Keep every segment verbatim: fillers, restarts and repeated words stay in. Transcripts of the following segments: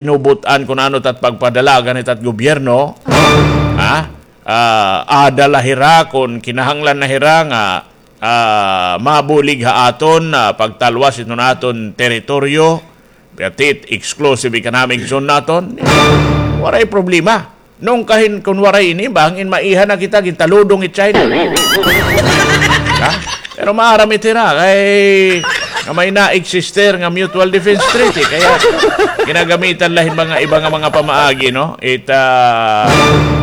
inubot-an kun ano it at pagpadalagan hit at gobyerno, ha? Ah, adala hira kun kinahanglan na hira nga, ah, mabulig ha aton, ah, pagtalwas hiton aton teritoryo, pati exclusive economic zone naton, waray problema. Nungkahin kun waray ini, bangin maiha na kita, gintaludong it China. Ha? Pero maaram it hira, kay nga may na-exist nga Mutual Defense Treaty, kaya ginagamitan la hin mga iba nga mga pamaagi, no? It, ah,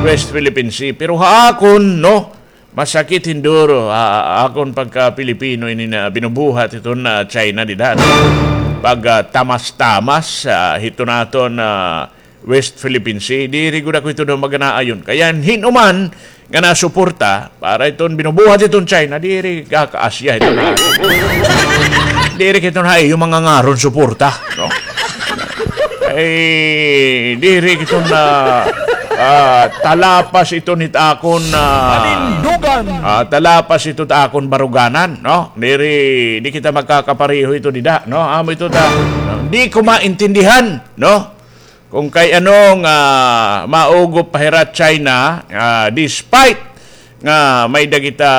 West Philippine Sea. Pero ha akon, no? Masakit hinduro, ah, akon pagka-Pilipino ini na binubuhat hiton, ah, China dida, no? Pag, ah, tamas-tamas, ah, hiton aton, ah, West Philippine Sea, diri gud ako ito daw maganaayon. Kaya hin-uman nga nasuporta para iton binubuhat iton China, diri kakaasya ito na. Diri kito na iyo mga ngaron suporta, no? Ay, diri kito na, ah, talapas ito nit akon, ah, Panindugan. Ah, talapas ito ta akon baruganan, no? Diri, di kita magkakapareho ito dida, no? Amo ito ta, di ko maintindihan, no? Kung kay ano nga maugop pa hira China, ah, despite nga may-ada kita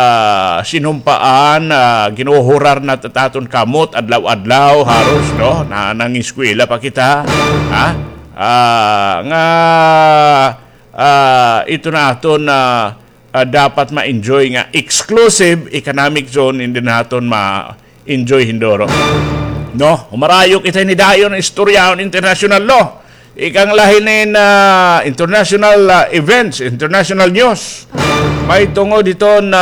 sinumpaan, ah, ginuhurar na ta it aton kamot adlaw-adlaw, haros, no? Na nangiskwela pa kita, ha? Ah, nga, ah, ito na aton, ah, ah, dapat ma-enjoy nga exclusive economic zone, hindi naton ma-enjoy hinduro. No? Humarayok kita ini dayon, istoryahon international law. Ikang lahi nin, ah, international, ah, events, international news. May tungod hiton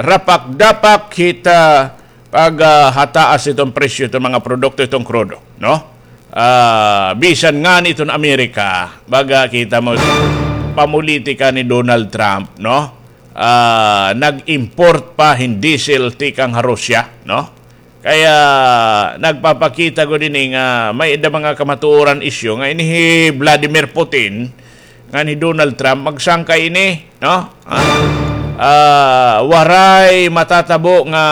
rapak-dapak hit, ah, pag, ah, hataas iton presyo iton mga produkto iton krudo, no? Ah, bisan ngani iton Amerika, baga kita mo, pamolitika ni Donald Trump, no? Ah, nag-import pa hin diesel tikang ha Russia, no? Kaya nagpapakita gud ini nga may-ada mga kamatuoran isyu nga ini hi Vladimir Putin, ngan hi Donald Trump, magsangkay ini, no? Ah, ah, waray matatabo nga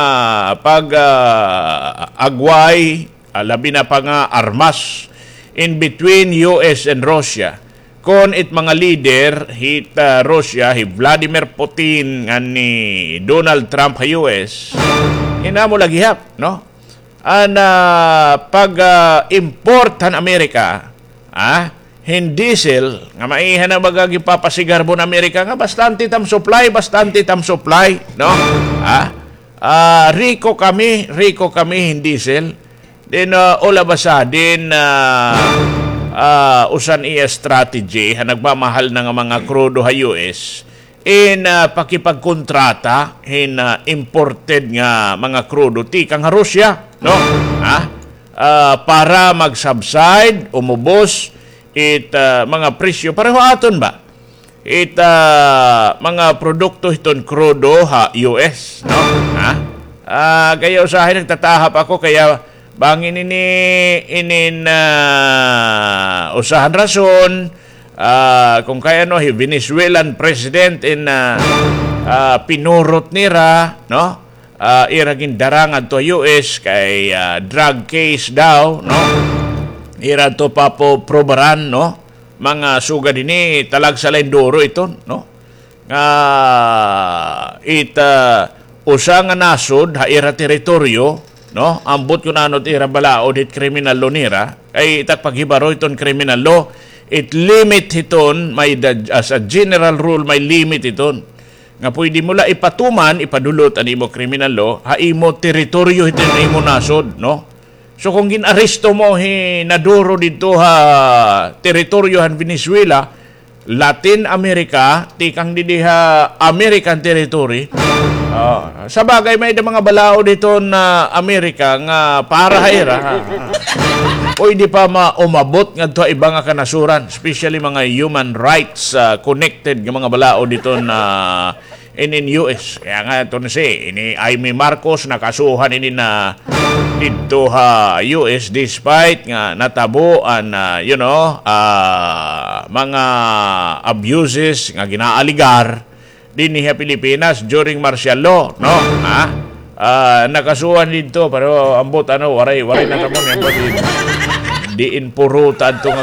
pag, ah, agway, ah, labi na pa nga armas in between U S and Russia. Kon it mga leader hit, ah, Russia, hi Vladimir Putin ngan ni Donald Trump ha U S, inamo la gihap, no? An, ah, pag, ah, import han Amerika, ah, hin diesel, nga maiha na baga ginpapasigarbon Amerika nga bastante tam supply, bastante tam supply, no? Ah, ah, riko kami, riko kami hin diesel. Then, ah, all of a sudden, ah, ah, usa han iya strategy, ha nagmamahal na nga mga krudo ha U S, in, ah, pakipagkontrata hin, ah, imported nga mga krudo tikang ha Russia, no? Ha? Ah, para mag-subside, umubos it, ah, mga presyo. Pareho aton ba? It, ah, mga produkto hiton krudo ha U S, no? Ha? Ah, kaya usahay nagtatahap ako, kaya bangin ini, inin, ah, usa han rason, ah, kon kay ano, hi Venezuelan president in, ah, ah, pinurot nira, no? Ah, ira gindara ngadto ha U S kay, ah, drug case daw, no? Ira to papoprobaran, no? Mga sugad hini, talagsa la hin duro iton, no? Nga it, ah, usa nga nasod ha ira teritoryo, no? Ambot kun ano it ira balaod hit criminal law nira, kay it ak paghibaro hiton criminal law, it limit hiton, may da-, as a general rule, may limit hiton. Nga pwede mo la ipatuman, ipadulot an imo criminal law ha imo teritoryo hiton imo nasod, no? So, kon gin-aresto mo hi Maduro didto ha teritoryo han Venezuela, Latin America, tikang didi ha American territory. Ah, sa bagay, may-ada mga balaod hiton America nga para ha ira. Pwede pa ma-, umabot ngadto ha iba nga kanasuran, especially mga human rights, ah, connected nga mga balaod hiton inin U S. Kaya nga, iton si, ini Imee Marcos, nakasuhan ini na didto ha U S despite nga natabo an, ah, you know, ah, mga abuses nga ginaaligar dinhi ha Pilipinas during martial law, no? Ha? Ah, nakasuhan didto, pero ambot, ano, waray, waray natabo niya, ambot, Diin purota adto nga